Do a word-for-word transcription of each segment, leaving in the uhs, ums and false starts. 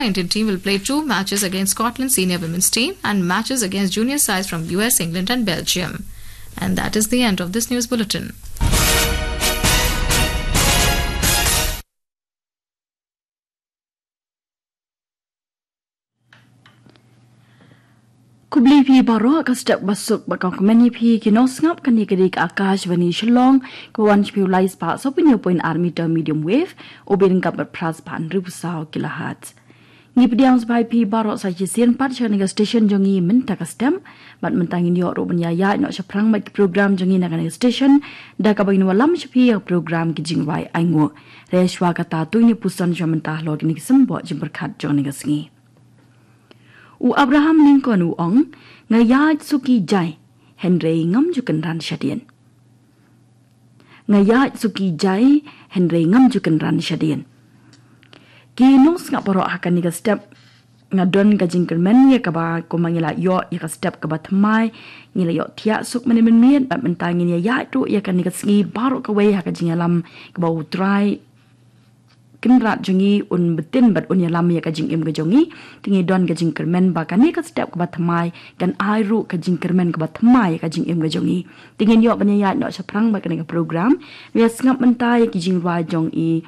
Indian team will play two matches against Scotland senior women's team and matches against junior sides from U S, England and Belgium. And that is the end of this news bulletin. Khublei phi baroh, ka step ba suk bad ka kmen ïa phi ki nongsngap. Kane ka dei ka Akashvani Shillong, ka wan sha phi u lai spah saw phew hynñiew point ar meter medium wave, u bit ryngkat bad phra spah hynriew phew saw kilohertz. Ngi pdiang sngewbha ïa phi baroh sa shisien pat sha kane ka station jong ngi mynta ka step, bad mynta ngin ïoh ruh ban ïaid noh shaphrang bad ki program jong ngi na kane ka station, da kaba ngin wallam sha phi ïa ka program Ki Jingrwai Ainguh. Hynrei shwa kata to ngin ïa puson sha mynta halor kine ki symboh jingpyrkhat jong kane ka sngi. U Abraham Lincoln u ong, "Nga ïaid suki jai, hynrei ngam ju kynran shadien." Nga ïaid suki jai, hynrei ngam ju kynran shadien. Ki nongsngap baroh, ha kane ka step nga don ka jingkyrmen ïa kaba kumba ngi la ïoh ïa ka step kaba thymmai, ngi la ïoh thiah suk mynne mynmiet, bad mynta ngin ïa ïaid ruh ïa kane ka sngi baroh kawei ha ka jingïalam kaba U Trai Kynrad jong ngi un btin bad un ïalam ïa ka jingim ka jong ngi. Te ngi don ka jingkyrmen ba kane ka step kaba thymmai kan ai ruh ka jingkyrmen kaba thymmai ïa ka jingim ka jong ngi. Te ngin ïoh ban ïaid noh shaphrang bad kane ka program. Ïa sngap mynta ïa ki jingrwai jong i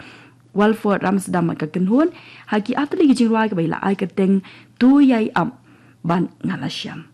Walford Ramsdam bad ka kynhun. Ha ki artylli ki jingrwai kaba i la ai kyrteng To Ïai Ap bad Nga La Shem.